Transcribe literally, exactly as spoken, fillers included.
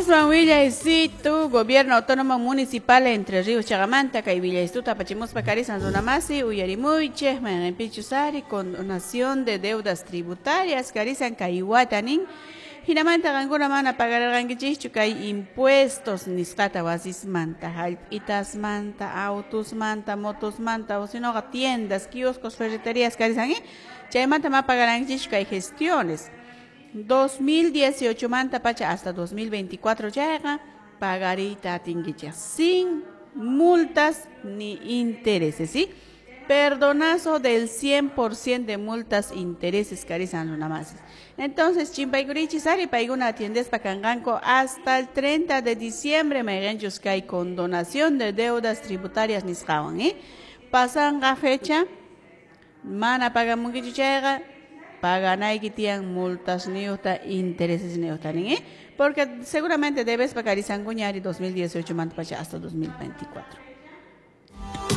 Aswan willaysitu Gobierno Autónomo Municipal Entre Ríos chaqamanta kay willaystuta apachimuspa karisan runamasi uyarimuychik mayqinpichus ari condonación de deudas tributarias karisan kay wata nin hinamanta qankuna mana pagarirqankichikchu kay impuestos nisqata wasismanta hallp'itasmanta autosmanta motosmanta o sinoqa tiendas kioscos ferreterías karisan eh? Chaymanta ma pagarankichikchu kay gestiones dos mil dieciocho manta pacha hasta dos mil veinticuatro chayqa pagariyta atinkichik sin multas ni intereses, ¿sí? Perdonazo del cien por ciento de multas intereses karisan runamasis. Entonces, chimpaykurichis ari paykuna atiendespa kanqanku hasta el treinta de diciembre mayqinchus kay condonación de deudas tributarias nisqawan, ¿eh? Pasanqa fecha mana pagamunkichu chayqa paganayki tiyan multas niyuqta intereses niyuqta nin, ¿eh? Porque seguramente debes pagarisankuña ari dos mil dieciocho manta pacha hasta dos mil veinticuatro.